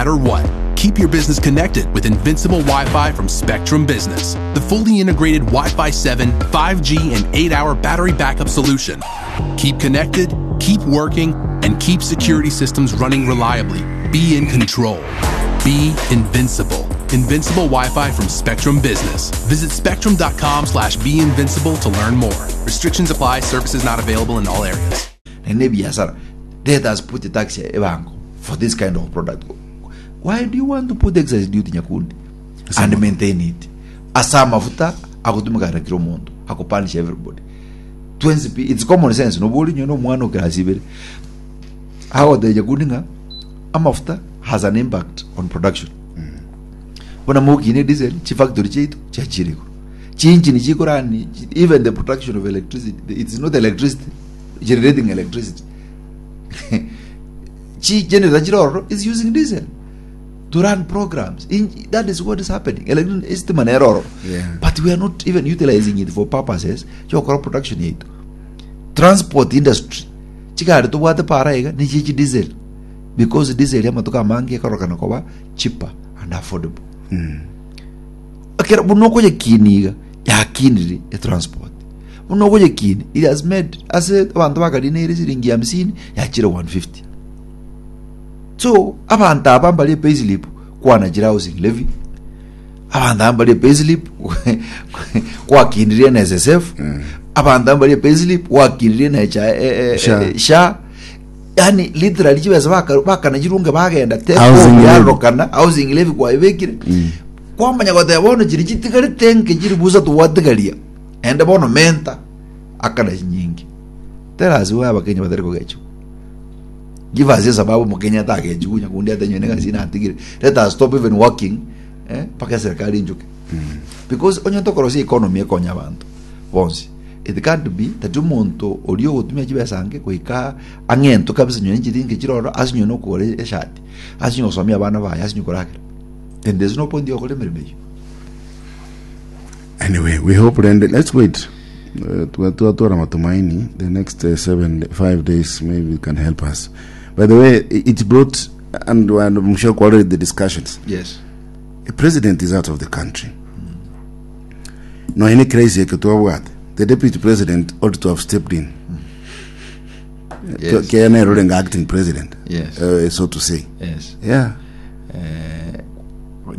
matter what. Keep your business connected with Invincible Wi-Fi from Spectrum Business, the fully integrated Wi-Fi 7, 5G, and 8-hour battery backup solution. Keep connected, keep working, and keep security systems running reliably. Be in control. Be invincible. Invincible Wi-Fi from Spectrum Business. Visit spectrum.com/beinvincible to learn more. Restrictions apply. Services not available in all areas. Naende ebiasara let us put tax ebango for this kind of product why do you want to put excise duty nyakundi and maintain it ase amafuta agotumeka na kira omonto akopunish everybody twensi pi it's common sense nobo ori onye omwana o class ibere agotebia nyakundi ng'a amafuta has an impact on production buna mokine diesel chifactory chiaito chiachire igoro chiinjini chikorani even the production of electricity it's not electricity generating electricity chi generator chire ororo is using diesel to run programs In, that is what is happening estima nere ororo but we are not even utilizing it for purposes chiokora production yaito transport industry chigari tobwate para iga nichie chi diesel because diesel amatuko amange ekorokana koba cheaper and affordable Ekero buna okoyekinia iga, yakinire etransport. Buna okoyekinia, it has made ase abanto bakarineire siringi hamsini, yachire 150. So, abanto aba mbare payslip kwanachire housing levy, abanto aba mbare payslip gwakinirie NSSF, abanto aba mbare payslip gwakinirie NHI, eh, eh, SHA. eh, SHA. Yani literally chibesa baka- bakanachirunge bagenda take Housing home levy. yarorokana housing levy kwaibekire Kwamanya goteba bono chiria chitigarete nke chiri busa togwatigaria, naende bono menta akana chinyinge. Tell us why abakenya batari kogechigwa. Give us esababu omokenya atagechigwa onye kundi atenywe negasi natigire. Let us stop even working eh, mpaka eserikali enchoke. Because onye tokorosia economy ekonya abanto bonsi. It can't be that omonto oria ogotumia chibesa nke goika ang'entwe kabisa onye nchiringi chire ororo ase onye nokogora eshati, ase onye gosomia abana baye, ase onye koragera. Then there's no point yokora emeremo eyio. Anyway, we hope rende let's wait. Twatwara matumaini the next 7 5 days maybe it can help us. By the way, it brought and I'm sure already the discussions. The president is out of the country. No any crazy eketwabwate. The deputy president ought to have stepped in. Kenya nero acting president. So to say. Yeah. Eh,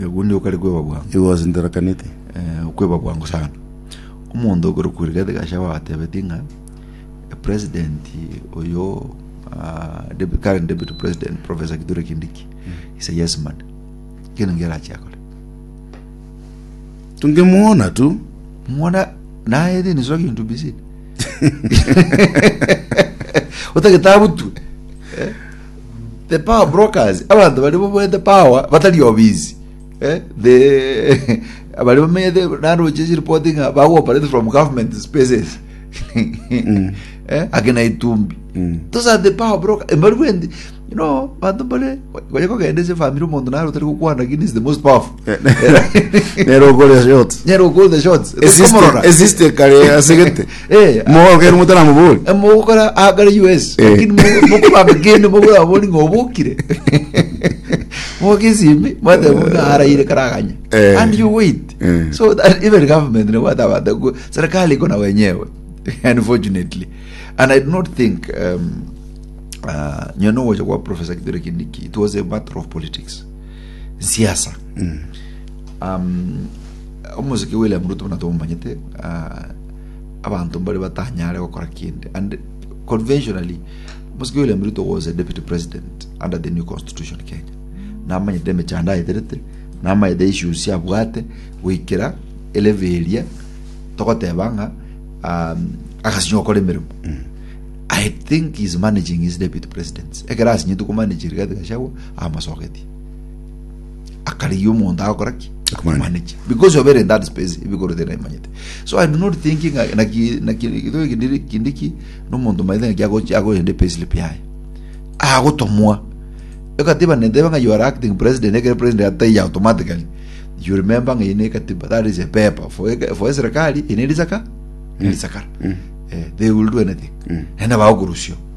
ogundi okare kweba bwango. He was in Tharaka Nithi. Eh, okweba bwango sana. Omonto okorokwa Rigathi Gachagua agatebeti ng'a president oyo ah, current deputy president Professor Kithure Kindiki is a yes man. Kende nkerache akore. Tungemuona tu. Mwana naye then is talking to be seen. Otagete abutwe. Eh? The power brokers, abanto baria babwate power batari obisi. Eh? The baria bamenyete naroche chiripoti ng'a bago operate from government spaces. Eh? Akina Itumbi. Those are the power broker. Mbari bwendi you know banto mbare konya kogenda ase family omonto naro otari gokwana lakini is the most powerful. Nero okore shots. Nero call the shots. Esiste esiste kare asegete. Eh, Mogokera motaramobori. mogokora agare US lakini mokobamba kende mokorabori ng'a obokire mogesimi mwateba buna araire karaganya and you wait so that even government nebwate abanto serikali iko na wenyewe unfortunately and I do not think nyowe nogocha kwa Professor Kithure Kindiki it was a matter of politics siasa omosike William Ruto buna tomomanyete abanto mbare batanyare gokora kende and conventionally omosike William Ruto was a deputy president under the new constitution Kenya namanyete emechando aeterete namanyete issues abwate goikera elevel eria togoteba ng'a agasinywa gokora emeremo I think he's managing his deputy presidents ekero asinyetwe komanage Rigathi Gachagua amosogetie akarigia omonto agokora ki Akomanage. manage because obere in that space ebikoro tena imanyete so I do not think ng'a naki naki githoe kindiri kindiki nomonto maete ng'aki agochi agoenda payslip yaye agotomwa ekatiba neteba ng'a you are acting president ekero president ataiyo automatically you remember ng'a eye ne ekatiba that is a paper for for eserikali eye ne risaka ne risakara eh, they will do anything naende bagokorusio.